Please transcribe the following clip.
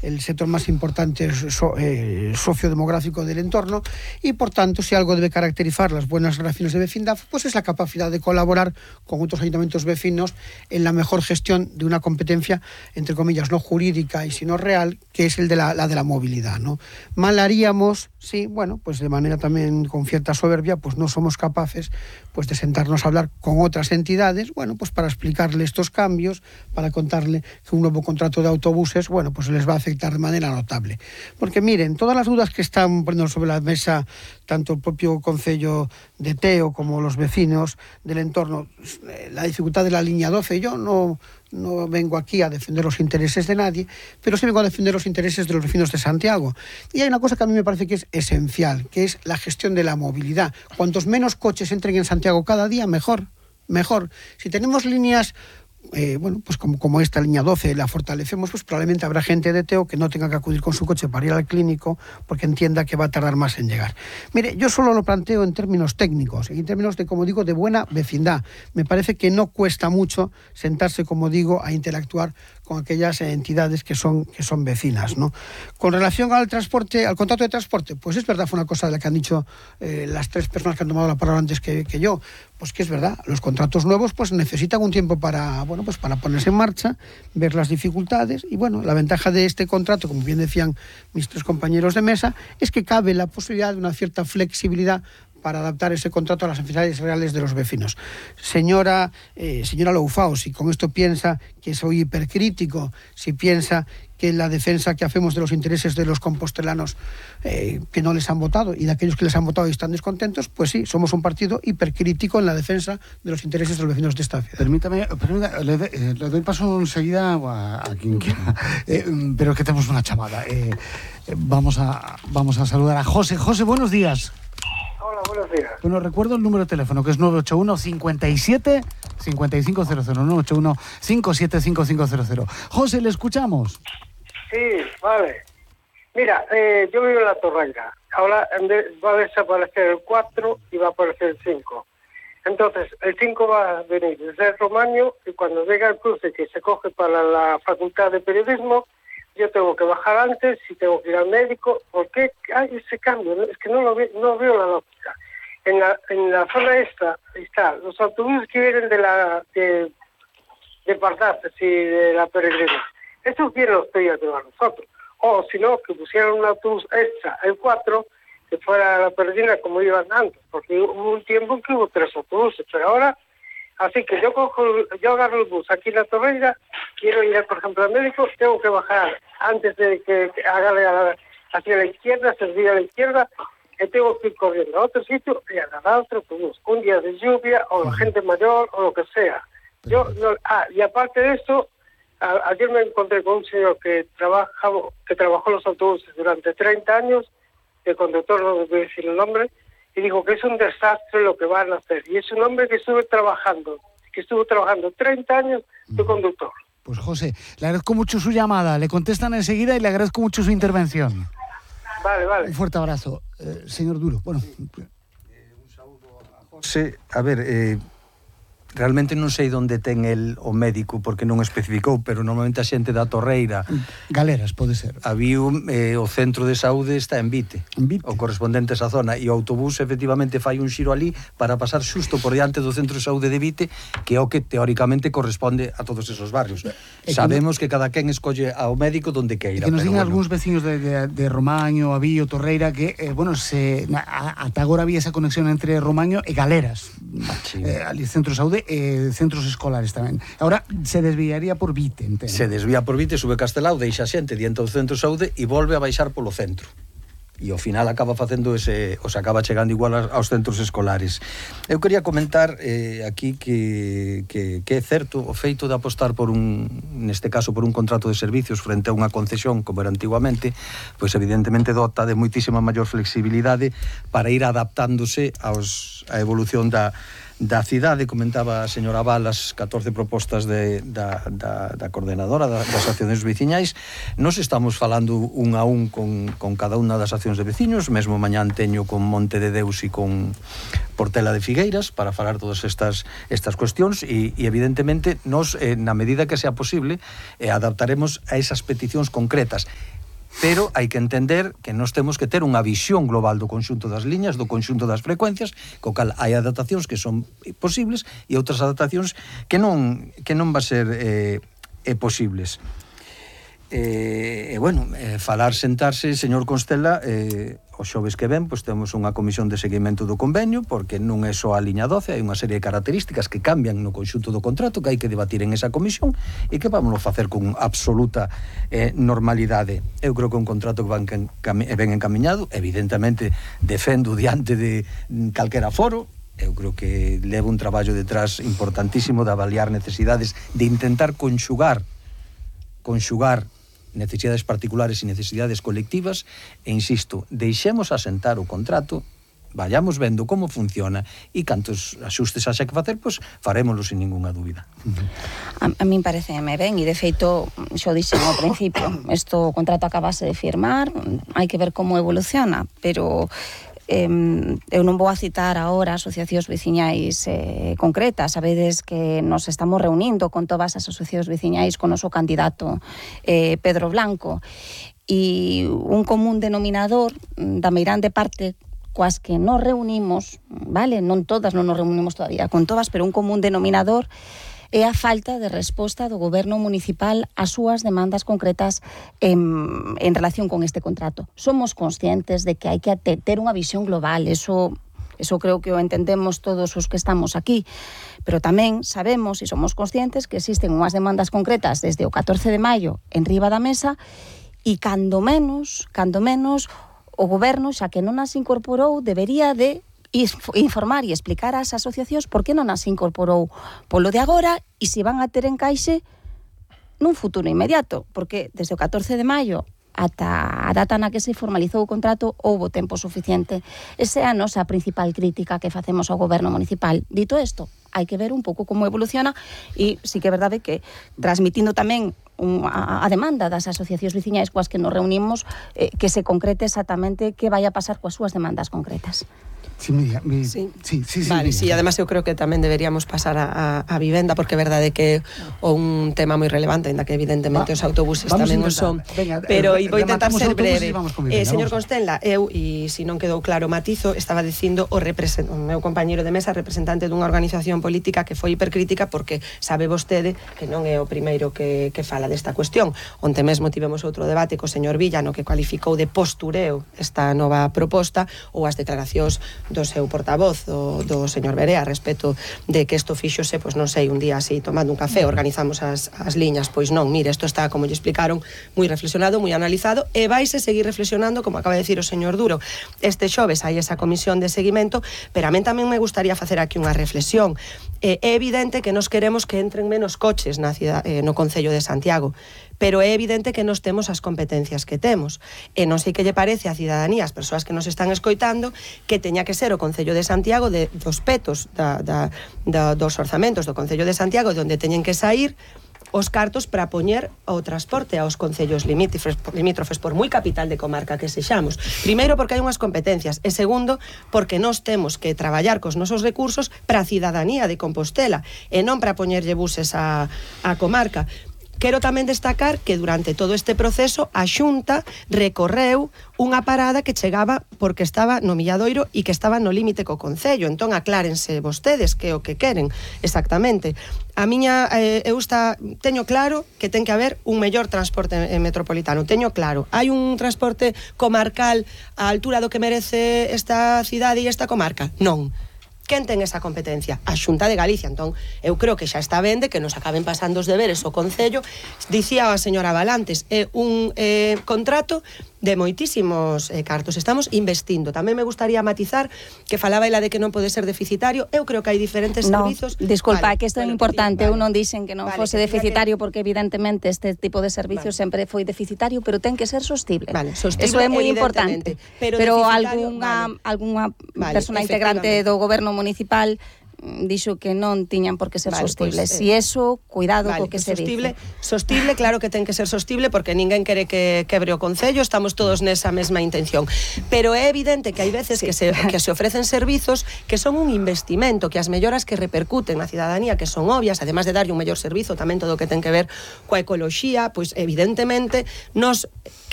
el sector más importante sociodemográfico del entorno, y por tanto, si algo debe caracterizar las buenas relaciones de vecindad, pues es la capacidad de colaborar con otros ayuntamientos vecinos en la mejor gestión de una competencia, entre comillas, no jurídica y sino real, que es el de la de la movilidad, ¿no? Mal haríamos si, bueno, pues de manera también con cierta soberbia, pues no somos capaces pues de sentarnos a hablar con otras entidades, bueno, pues para explicarle estos cambios, para contarle que un nuevo contrato de autobuses, bueno, pues les va a afectar de manera notable. Porque miren, todas las dudas que están poniendo sobre la mesa tanto el propio Concello de Teo como los vecinos del entorno, la dificultad de la línea 12, yo no vengo aquí a defender los intereses de nadie, pero sí vengo a defender los intereses de los vecinos de Santiago. Y hay una cosa que a mí me parece que es esencial, que es la gestión de la movilidad. Cuantos menos coches entren en Santiago cada día, mejor. Si tenemos líneas, bueno, pues como esta línea 12 la fortalecemos, pues probablemente habrá gente de Teo que no tenga que acudir con su coche para ir al clínico porque entienda que va a tardar más en llegar. Mire, yo solo lo planteo en términos técnicos, en términos de, como digo, de buena vecindad. Me parece que no cuesta mucho sentarse, como digo, a interactuar con aquellas entidades que son vecinas, ¿no? Con relación al transporte, al contrato de transporte, pues es verdad, fue una cosa de la que han dicho las tres personas que han tomado la palabra antes que yo, pues que es verdad, los contratos nuevos pues necesitan un tiempo para, bueno, pues para ponerse en marcha, ver las dificultades, y bueno, la ventaja de este contrato, como bien decían mis tres compañeros de mesa, es que cabe la posibilidad de una cierta flexibilidad para adaptar ese contrato a las necesidades reales de los vecinos. Señora Loufao, si con esto piensa que soy hipercrítico, si piensa que la defensa que hacemos de los intereses de los compostelanos que no les han votado y de aquellos que les han votado y están descontentos, pues sí, somos un partido hipercrítico en la defensa de los intereses de los vecinos de esta ciudad. Permítame, le doy paso enseguida a quien quiera, pero es que tenemos una chamada. Vamos a saludar a José. José, buenos días. Hola, buenos días. Bueno, recuerdo el número de teléfono, que es 981 57 5500, 981 57 5500. José, le escuchamos. Sí, vale. Mira, yo vivo en La Torreira. Ahora va a desaparecer el 4 y va a aparecer el 5. Entonces, el 5 va a venir desde el Romaño, y cuando venga el cruce que se coge para la Facultad de Periodismo, yo tengo que bajar antes y tengo que ir al médico. ¿Por qué hay ese cambio? Es que no veo la lógica. En la zona esta está los autobuses que vienen de Pardaces y de la Peregrina. Estos vienen los pedían de nosotros. O si no, que pusieran un autobús extra, el 4, que fuera a la Peregrina como iban antes. Porque hubo un tiempo en que hubo 3 autobuses, pero ahora... Así que yo agarro el bus aquí en La Torreira, quiero ir, por ejemplo, al médico, tengo que bajar antes de que haga hacia la izquierda, servir a la izquierda, y tengo que ir corriendo a otro sitio y agarrar otro autobús. Un día de lluvia, o la gente mayor, o lo que sea. Y aparte de esto, ayer me encontré con un señor que trabajó los autobuses durante 30 años, el conductor, no voy a decir el nombre, y dijo que es un desastre lo que van a hacer. Y es un hombre que estuvo trabajando 30 años de conductor. Pues José, le agradezco mucho su llamada, le contestan enseguida y le agradezco mucho su intervención. Vale. Un fuerte abrazo. Señor Duro, bueno. Un saúdo a José. A ver, realmente non sei onde ten o médico porque non especificou, pero normalmente a xente da Torreira, Galeras, pode ser. Había o centro de saúde está en Vite, o correspondente a esa zona, e o autobús efectivamente fai un xiro ali para pasar xusto por diante do centro de saúde de Vite, que é o que teóricamente corresponde a todos esos barrios. Sabemos que cada quen escolle ao médico donde queira. Que nos digan algúns veciños de Romaño, Avío, Torreira, que, ata agora había esa conexión entre Romaño e Galeras. Sí. Ali centro de saúde, centros escolares tamén. Agora se desviaría por Vite, entendo. Se desvía por Vite, sube Castelao, deixa xente diante do centro de saúde e volve a baixar polo centro. E ao final acaba facendo acaba chegando igual aos centros escolares. Eu quería comentar aquí que é certo o feito de apostar neste caso por un contrato de servicios frente a unha concesión como era antiguamente, pois evidentemente dota de moitísima maior flexibilidade para ir adaptándose a evolución da da cidade, comentaba a señora Val as 14 propostas da coordenadora das accións veciñais. Nos estamos falando un a un con cada unha das accións de veciños, mesmo mañán teño con Monte de Deus e con Portela de Figueiras para falar todas estas cuestións e evidentemente nos, na medida que sea posible, adaptaremos a esas peticións concretas. Pero hai que entender que nós temos que ter unha visión global do conxunto das liñas, do conxunto das frecuencias, co cal hai adaptacións que son posibles e outras adaptacións que non va a ser posibles. Sentarse, señor Constela, o xoves que ven, pois temos unha comisión de seguimento do convenio, porque non é só a liña 12, hai unha serie de características que cambian no conxunto do contrato que hai que debatir en esa comisión e que vamos a facer con absoluta normalidade. Eu creo que un contrato que ben encamiñado, evidentemente defendo diante de calquera foro. Eu creo que leva un traballo detrás importantísimo de avaliar necesidades, de intentar conxugar necesidades particulares e necesidades colectivas e, insisto, deixemos asentar o contrato, vayamos vendo como funciona e cantos axustes haxa que facer, pois farémoslo sin ninguna dúbida. A min pareceme ben e, de feito, xo dixen ao principio, o contrato acabase de firmar, hai que ver como evoluciona, pero eu non vou a citar agora asociacións veciñais concretas. Sabedes que nos estamos reunindo con todas as asociacións veciñais con o noso candidato Pedro Blanco, e un común denominador da meirande parte coas que nos reunimos, vale, non todas, non nos reunimos todavía con todas, pero un común denominador é a falta de resposta do goberno municipal ás súas demandas concretas en relación con este contrato. Somos conscientes de que hai que ter unha visión global, eso creo que o entendemos todos os que estamos aquí, pero tamén sabemos e somos conscientes que existen unhas demandas concretas desde o 14 de maio en riba da mesa e cando menos o goberno, xa que non as incorporou, debería de informar e explicar ás asociacións por que non as incorporou polo de agora e se van a ter encaixe nun futuro inmediato, porque desde o 14 de maio ata a data na que se formalizou o contrato houbo tempo suficiente. Esa é a nosa principal crítica que facemos ao goberno municipal. Dito isto, hai que ver un pouco como evoluciona e sí que é verdade que transmitindo tamén a demanda das asociacións veciñais coas que nos reunimos, que se concrete exactamente que vai a pasar coas súas demandas concretas. Sí, vale, sí, además eu creo que tamén deberíamos pasar a vivenda, porque é verdade que é un tema moi relevante, ainda que evidentemente os autobuses tamén o son. Pero vou intentar ser breve. Señor Constela, eu, e se non quedou claro matizo, estaba dicindo o meu compañeiro de mesa, representante dunha organización política que foi hipercrítica, porque sabe vostede que non é o primeiro que fala desta cuestión. Onte mesmo tivemos outro debate co señor Villa, no que cualificou de postureo esta nova proposta, ou as declaracións do seu portavoz, do señor Berea, a respecto de que isto fíxose, pois non sei, un día así, tomando un café, organizamos as liñas, pois non, mire, isto está, como lle explicaron, moi reflexionado, moi analizado, e vaise seguir reflexionando, como acaba de decir o señor Duro. Este xoves hai esa comisión de seguimento, pero a min tamén me gustaría facer aquí unha reflexión. É evidente que nos queremos que entren menos coches na cidade, no Concello de Santiago, pero é evidente que nos temos as competencias que temos. E non sei que lle parece a cidadanía, as persoas que nos están escoitando, que teña que ser o Concello de Santiago dos petos dos orzamentos do Concello de Santiago, de onde teñen que sair os cartos para poñer o transporte aos concellos limítrofes, por moi capital de comarca que sexamos. Primeiro, porque hai unhas competencias, e segundo, porque nós temos que traballar cos nosos recursos para a cidadanía de Compostela, e non para poñerlle buses á comarca. Quero tamén destacar que durante todo este proceso a Xunta recorreu unha parada que chegaba porque estaba no Milladoiro e que estaba no límite co Concello. Entón aclárense vostedes que é o que queren exactamente. Teño claro que ten que haber un mellor transporte metropolitano, teño claro. Hai un transporte comarcal á altura do que merece esta cidade e esta comarca? Non. Quen ten esa competencia? A Xunta de Galicia. Entón, eu creo que xa está ben de que nos acaben pasando os deberes o Concello. Dicía a señora Valantes, é un contrato de moitísimos cartos. Estamos investindo. Tamén me gustaría matizar que falaba ela de que non pode ser deficitario. Eu creo que hai diferentes servizos. Disculpa, que isto é importante. Eu non dixen que non fose deficitario, porque evidentemente este tipo de servicios sempre foi deficitario, pero ten que ser sostible. Sostible, eso é moi importante. Pero algunha persona integrante do goberno municipal dixo que non tiñan por que ser sostibles. Si eso, cuidado co que se dice. Sostible, claro que ten que ser sostible, porque ninguén quere que quebre o Concello, estamos todos nesa mesma intención. Pero é evidente que hai veces que se ofrecen servizos que son un investimento, que as melloras que repercuten na cidadanía, que son obvias, además de darlle un mellor servizo, tamén todo o que ten que ver coa ecoloxía, pois evidentemente nos